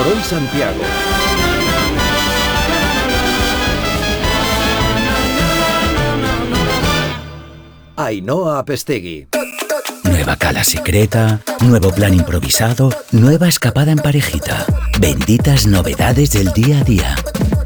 por hoy Santiago. Ainhoa Apestegui. Nueva cala secreta, nuevo plan improvisado, nueva escapada en parejita. Benditas novedades del día a día.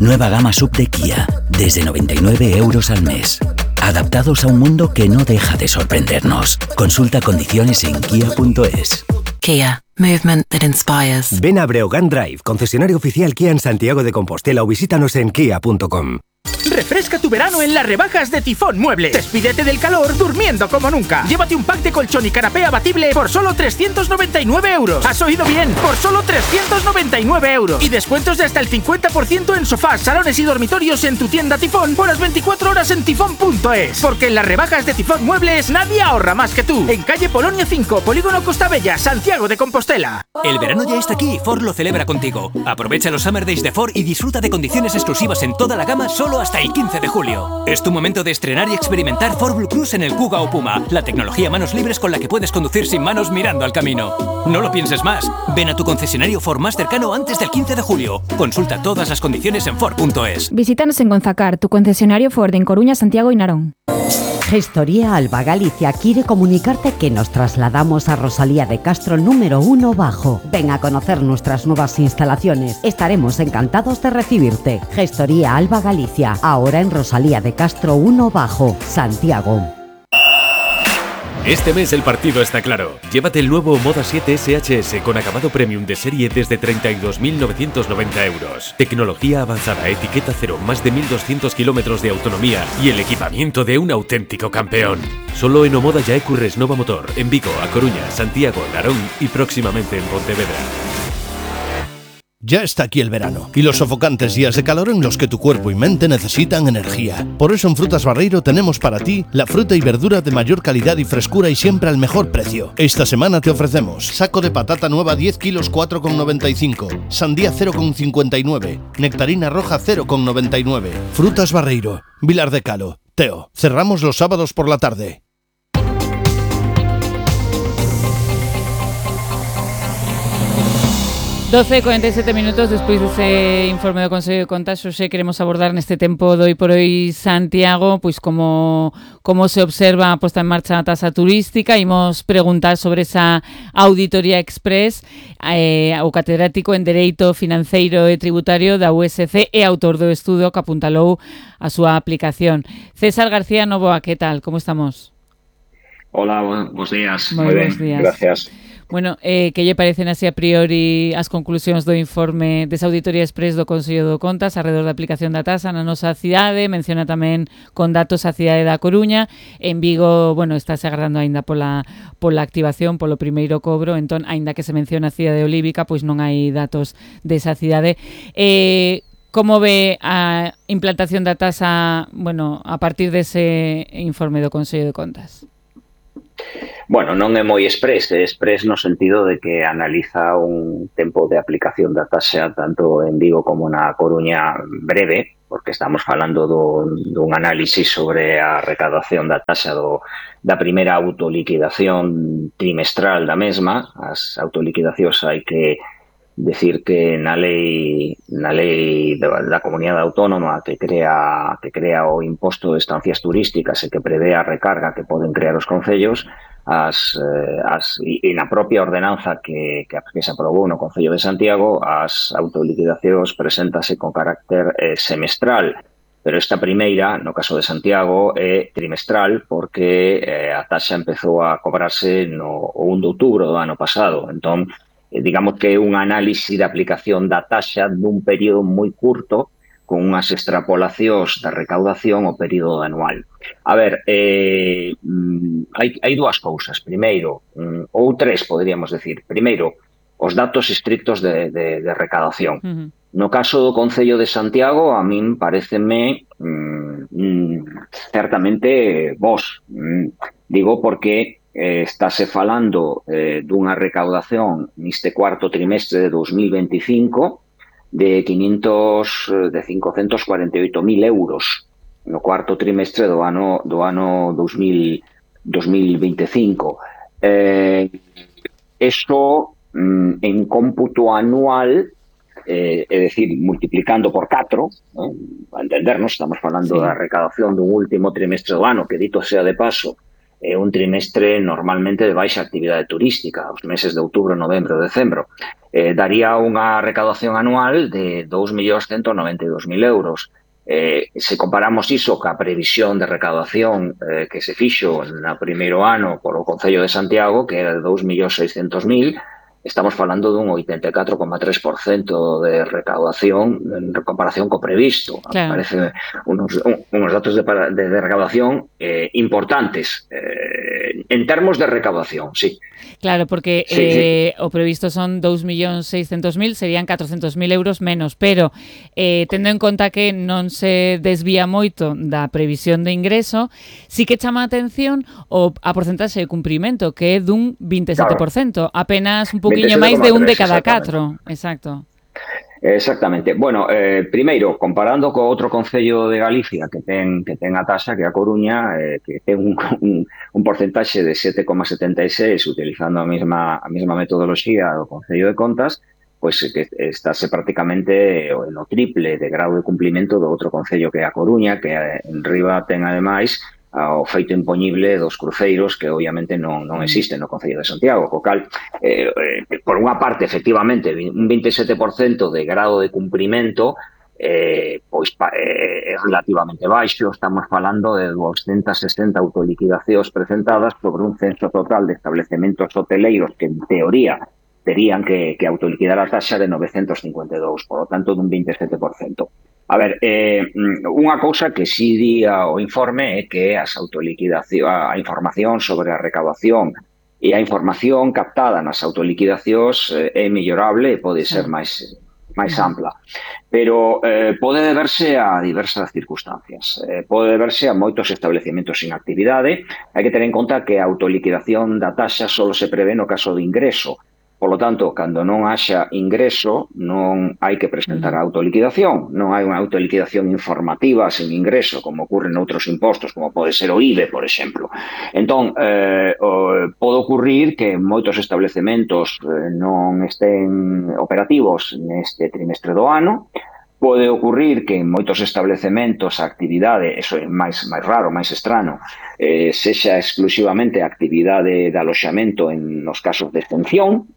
Nueva gama sub de Kia, desde 99 euros al mes. Adaptados a un mundo que no deja de sorprendernos. Consulta condiciones en kia.es. Kia. Movement that inspires. Ven a Breogán Drive, concesionario oficial Kia en Santiago de Compostela, o visítanos en kia.com. Refresca tu verano en las rebajas de Tifón Muebles. Despídete del calor durmiendo como nunca. Llévate un pack de colchón y canapé abatible por solo 399 euros. ¿Has oído bien? Por solo 399 euros. Y descuentos de hasta el 50% en sofás, salones y dormitorios en tu tienda Tifón por las 24 horas en tifón.es. Porque en las rebajas de Tifón Muebles nadie ahorra más que tú. En calle Polonia 5, Polígono Costa Bella, Santiago de Compostela. El verano ya está aquí y Ford lo celebra contigo. Aprovecha los Summer Days de Ford y disfruta de condiciones exclusivas en toda la gama solo hasta el 15 de julio. Es tu momento de estrenar y experimentar Ford Blue Cruise en el Kuga o Puma, la tecnología manos libres con la que puedes conducir sin manos mirando al camino. No lo pienses más. Ven a tu concesionario Ford más cercano antes del 15 de julio. Consulta todas las condiciones en Ford.es. Visítanos en Gonzacar, tu concesionario Ford en Coruña, Santiago y Narón. Gestoría Alba Galicia quiere comunicarte que nos trasladamos a Rosalía de Castro número 1 Bajo. Ven a conocer nuestras nuevas instalaciones. Estaremos encantados de recibirte. Gestoría Alba Galicia, ahora en Rosalía de Castro 1 Bajo, Santiago. Este mes el partido está claro. Llévate el nuevo Moda 7 SHS con acabado premium de serie desde 32.990 euros. Tecnología avanzada, etiqueta cero, más de 1.200 kilómetros de autonomía y el equipamiento de un auténtico campeón. Solo en Omoda Yaecu Resnova Motor, en Vigo, A Coruña, Santiago, Narón y próximamente en Pontevedra. Ya está aquí el verano y los sofocantes días de calor en los que tu cuerpo y mente necesitan energía. Por eso en Frutas Barreiro tenemos para ti la fruta y verdura de mayor calidad y frescura y siempre al mejor precio. Esta semana te ofrecemos saco de patata nueva 10 kilos 4,95, sandía 0,59, nectarina roja 0,99. Frutas Barreiro, Vilar de Calo, Teo. Cerramos los sábados por la tarde. 12:47 despois dese informe do Consello de Contas. Hoxe queremos abordar neste tempo do Hoy por Hoy Santiago pois como se observa a posta en marcha da tasa turística. Imos preguntar sobre esa auditoría express ao catedrático en Dereito Financeiro e Tributario da USC e autor do estudo que apuntalou a súa aplicación. César García Novoa, que tal? Como estamos? Hola, buenos días. Moi bons días. Gracias. Bueno, que lle parecen así a priori as conclusións do informe desa auditoría express do Consello de Contas alrededor da aplicación da tasa na nosa cidade? Menciona tamén con datos a cidade da Coruña. En Vigo, bueno, estáse agardando aínda pola activación, polo primeiro cobro, entón, aínda que se menciona a cidade olívica, pois non hai datos desa cidade. Como ve a implantación da tasa, bueno, a partir dese informe do Consello de Contas? Bueno, non é moi express no sentido de que analiza un tempo de aplicación da taxa tanto en Vigo como na Coruña breve, porque estamos falando dun análisis sobre a recaudación da taxa da primeira autoliquidación trimestral da mesma. As autoliquidacións hai que decir que na lei da comunidade autónoma que crea o imposto de estancias turísticas e que prevé a recarga que poden crear os concellos, e na propia ordenanza que se aprobou no Concello de Santiago, as autoliquidacións preséntase con carácter semestral, pero esta primeira, no caso de Santiago, é trimestral porque a taxa empezou a cobrarse no 1 de outubro do ano pasado. Entón, digamos que é un análisis de aplicación da taxa dun período moi curto con unhas extrapolacións da recaudación ao período anual. A ver, hai dúas cousas. Primeiro, ou tres, poderíamos decir. Primeiro, os datos estrictos de recaudación. No caso do Concello de Santiago, a min pareceme certamente bos. Digo porque estáse falando dunha recaudación neste cuarto trimestre de 2025 de 548.000 euros no cuarto trimestre do ano 2025. Isto en cómputo anual é dicir, multiplicando por 4, a entendernos, estamos falando da recaudación dun último trimestre do ano, que dito sea de paso, é un trimestre normalmente de baixa actividade turística, os meses de outubro, novembro, decembro, daría unha recaudación anual de 2.192.000 euros. Se comparamos iso ca previsión de recaudación que se fixo no primeiro ano por o Concello de Santiago, que era de 2.600.000, estamos falando dun 84,3% de recaudación en comparación co previsto. Claro. Parece unos datos de recaudación importantes en termos de recaudación, sí. Claro, porque o previsto son 2.600.000, serían 400.000 euros menos, pero tendo en conta que non se desvía moito da previsión de ingreso, sí que chama a atención a porcentaxe de cumprimento, que é dun 27%, apenas un poquinho máis de un de cada 4. Exacto. Exactamente. Bueno, primeiro, comparando co outro concello de Galicia que ten a taxa, que é a Coruña, que ten un porcentaxe de 7,76, utilizando a mesma metodoloxía do Concello de Contas, pois que estáse prácticamente no triple de grado de cumplimento do outro concello que é a Coruña, que en riba ten ademais ao feito impoñible dos cruceiros que obviamente non existen no Concello de Santiago, co cal, por unha parte, efectivamente, un 27% de grado de cumprimento pois é relativamente baixo. Estamos falando de 260 autoliquidacións presentadas sobre un censo total de establecementos hoteleiros que, en teoría, terían que autoliquidar a taxa de 952, por lo tanto, dun 27%. A ver, unha cousa que si di o informe é que a información sobre a recaudación e a información captada nas autoliquidacións é mellorable e pode ser máis ampla. Pero pode deberse a diversas circunstancias. Pode deberse a moitos establecementos sin actividade. Hai que ter en conta que a autoliquidación da taxa só se prevé no caso de ingreso. Por lo tanto, cando non haxa ingreso, non hai que presentar a autoliquidación. Non hai unha autoliquidación informativa sen ingreso, como ocurre noutros impostos, como pode ser o IBE, por exemplo. Entón, pode ocurrir que moitos establecementos non estén operativos neste trimestre do ano. Pode ocurrir que en moitos establecementos a actividade, eso é máis raro, máis estrano, sexa exclusivamente a actividade de aloxamento nos casos de extensión,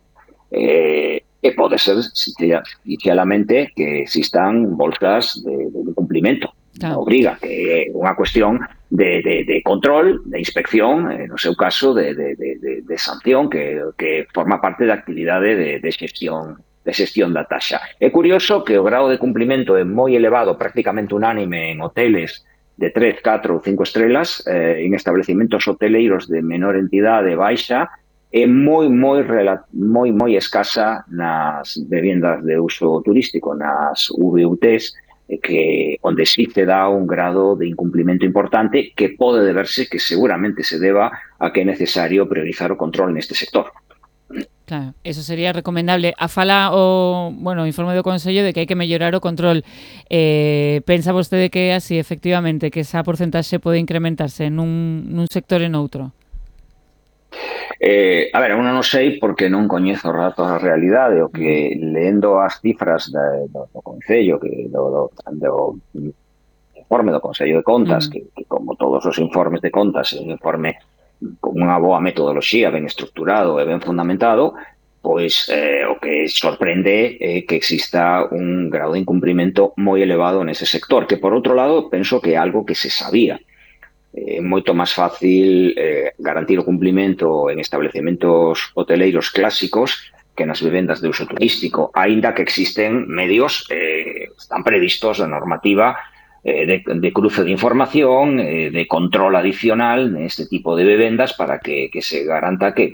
e pode ser sinceramente que existan bolsas de cumplimento, obriga, que é unha cuestión de control, de inspección, no seu caso de sanción, que forma parte da actividade de xestión da taxa. É curioso que o grado de cumplimento é moi elevado, prácticamente unánime en hoteles de 3, 4 ou 5 estrelas, en establecimentos hoteleiros de menor entidade baixa, é moi escasa nas vivendas de uso turístico, nas VUTs, onde sí se dá un grado de incumplimento importante que pode deberse, que seguramente se deba a que é necesario priorizar o control neste sector. Claro, eso sería recomendable. A fala o informe do Consello de que hai que mellorar o control. Pensa vostede que é así, efectivamente, que esa porcentaxe pode incrementarse nun sector e noutro? A ver, eu non sei porque non coñezo os datos da realidade, o que leendo as cifras do Concello, do informe do Consello de Contas, que como todos os informes de contas, é un informe con unha boa metodoloxía, ben estructurado e ben fundamentado, pois o que sorprende é que exista un grado de incumprimento moi elevado nese sector, que por outro lado penso que é algo que se sabía. É moito máis fácil garantir o cumplimento en establecementos hoteleiros clásicos que nas vivendas de uso turístico, aínda que existen medios, están previstos na normativa de cruce de información, de control adicional neste tipo de vivendas para que se garanta que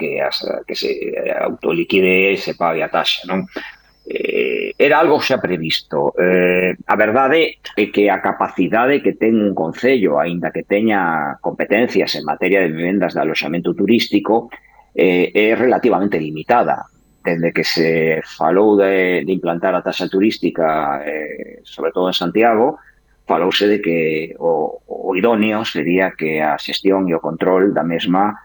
se autoliquide e se pague a taxa, non? Era algo xa previsto. A verdade é que a capacidade que ten un concello, aínda que teña competencias en materia de vivendas de aloxamento turístico, é relativamente limitada. Desde que se falou de implantar a taxa turística, sobre todo en Santiago, falouse de que o idóneo sería que a xestión e o control da mesma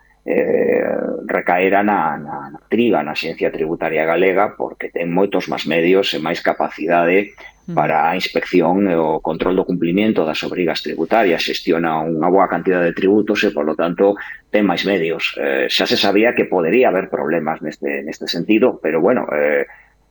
recaera na triga na Axencia Tributaria Galega, porque ten moitos máis medios e máis capacidade para a inspección e o control do cumprimento das obrigas tributarias, xestiona unha boa cantidad de tributos e, polo tanto, ten máis medios. Xa se sabía que podería haber problemas neste sentido, pero, bueno,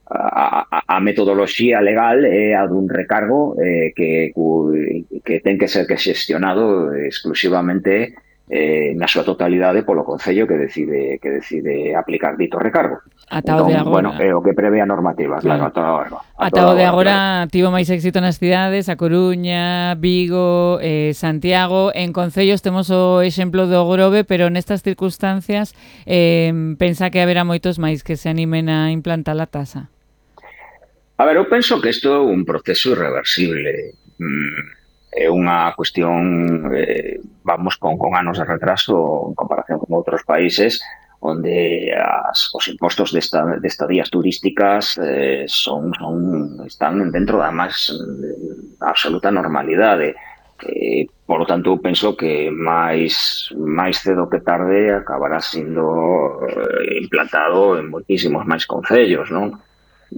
a metodoloxía legal é a dun recargo que ten que ser xestionado exclusivamente na súa totalidade polo Concello que decide aplicar dito recargo. Atao de agora. Bueno, é o que prevé a normativa, claro. Atao de agora tivo máis éxito nas cidades, a Coruña, Vigo, Santiago. En concellos temos o exemplo do Grove, pero nestas circunstancias pensa que haberá moitos máis que se animen a implantar a tasa. A ver, eu penso que isto é un proceso irreversible. É unha cuestión, vamos, con anos de retraso en comparación con outros países, onde os impostos de estadías turísticas están dentro da máis absoluta normalidade. Por lo tanto, penso que máis cedo que tarde acabará sendo implantado en moitísimos máis concellos, non?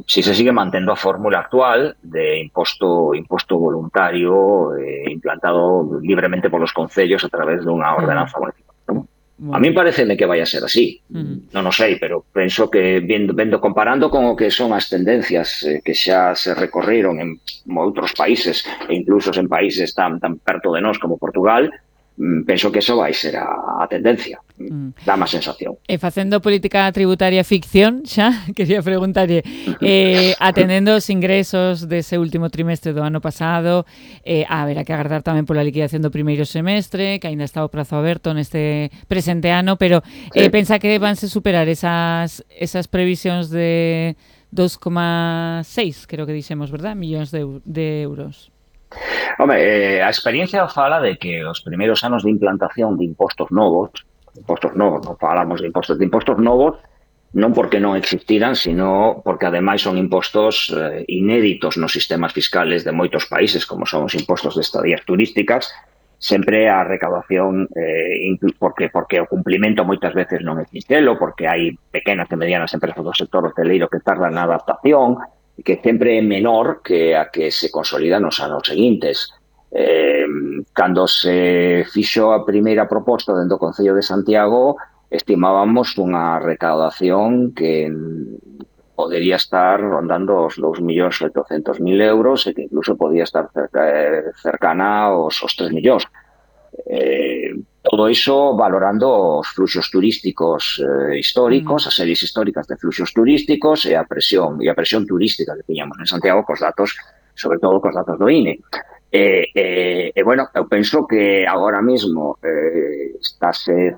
Si se sigue mantendo a fórmula actual de imposto voluntario implantado libremente polos concellos a través dunha ordenanza municipal. A mí pareceme que vai a ser así. Non o sei, pero penso que vendo comparando con o que son as tendencias que xa se recorreron en outros países e incluso en países tan perto de nós como Portugal, penso que eso vai ser a tendencia. Dá má sensación. E facendo política tributaria ficción, xa, quería preguntarlle, atendendo os ingresos dese último trimestre do ano pasado, haberá que agardar tamén pola liquidación do primeiro semestre, que aínda está o prazo aberto neste presente ano, pero pensa que vanse superar esas previsións de 2,6, creo que dixemos, verdad? Millóns de euros. Home, a experiencia fala de que os primeiros anos de implantación de impostos novos, non falamos de impostos novos, non porque non existiran, sino porque ademais son impostos inéditos nos sistemas fiscales de moitos países, como son os impostos de estadías turísticas. Sempre a recaudación, porque o cumplimento moitas veces non é sincero, porque hai pequenas e medianas empresas do sector hoteleiro que tardan na adaptación, que sempre é menor que a que se consolida nos anos seguintes. Cando se fixo a primeira proposta dentro do Concello de Santiago, estimábamos unha recaudación que podería estar rondando os 2.800.000 euros e que incluso podía estar cercana aos 3 millóns. Todo iso valorando os fluxos turísticos históricos, as series históricas de fluxos turísticos e a presión turística que tiñamos en Santiago cos datos, sobre todo cos datos do INE. Bueno, eu penso que agora mesmo estáse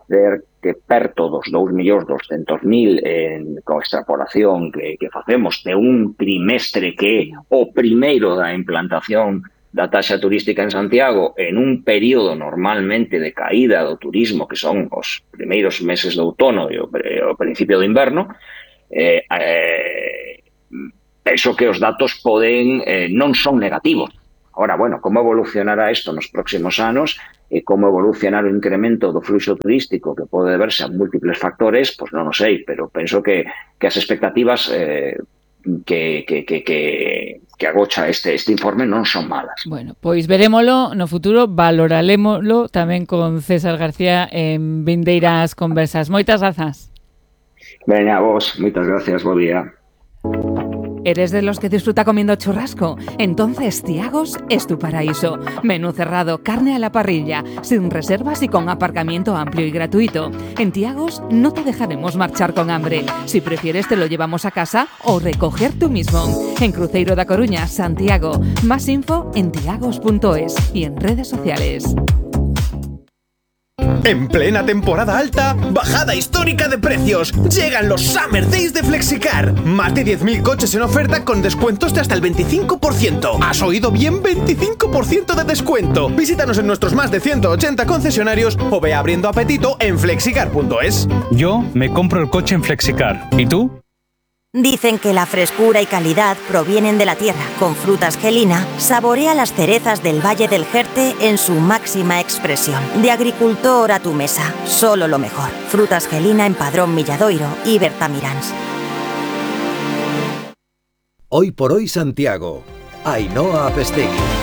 perto dos 2.200.000 con extrapolación que facemos de un trimestre que é o primeiro da implantación da taxa turística en Santiago en un período normalmente de caída do turismo, que son os primeiros meses do outono e o principio do inverno. Penso que os datos non son negativos. Ahora, bueno, como evolucionará isto nos próximos anos e como evolucionar o incremento do fluxo turístico que pode deberse a múltiples factores, pois non o sei, pero penso que as expectativas que agocha este informe non son malas. Bueno, pois verémolo no futuro, valoralémolo tamén con César García en vindeiras conversas. Moitas grazas. Veña, vos, moitas gracias, bo día. ¿Eres de los que disfruta comiendo churrasco? Entonces Thiagos es tu paraíso. Menú cerrado, carne a la parrilla, sin reservas y con aparcamiento amplio y gratuito. En Thiagos no te dejaremos marchar con hambre. Si prefieres te lo llevamos a casa o recoger tú mismo. En Cruzeiro da Coruña, Santiago. Más info en thiagos.es y en redes sociales. En plena temporada alta, bajada histórica de precios. Llegan los Summer Days de Flexicar. Más de 10.000 coches en oferta con descuentos de hasta el 25%. ¿Has oído bien? 25% de descuento. Visítanos en nuestros más de 180 concesionarios o ve abriendo apetito en flexicar.es. Yo me compro el coche en Flexicar. ¿Y tú? Dicen que la frescura y calidad provienen de la tierra. Con Frutas Gelina, saborea las cerezas del Valle del Jerte en su máxima expresión. De agricultor a tu mesa, solo lo mejor. Frutas Gelina en Padrón Milladoiro y Bertamiráns. Hoy por hoy Santiago. Ainhoa Apestegui.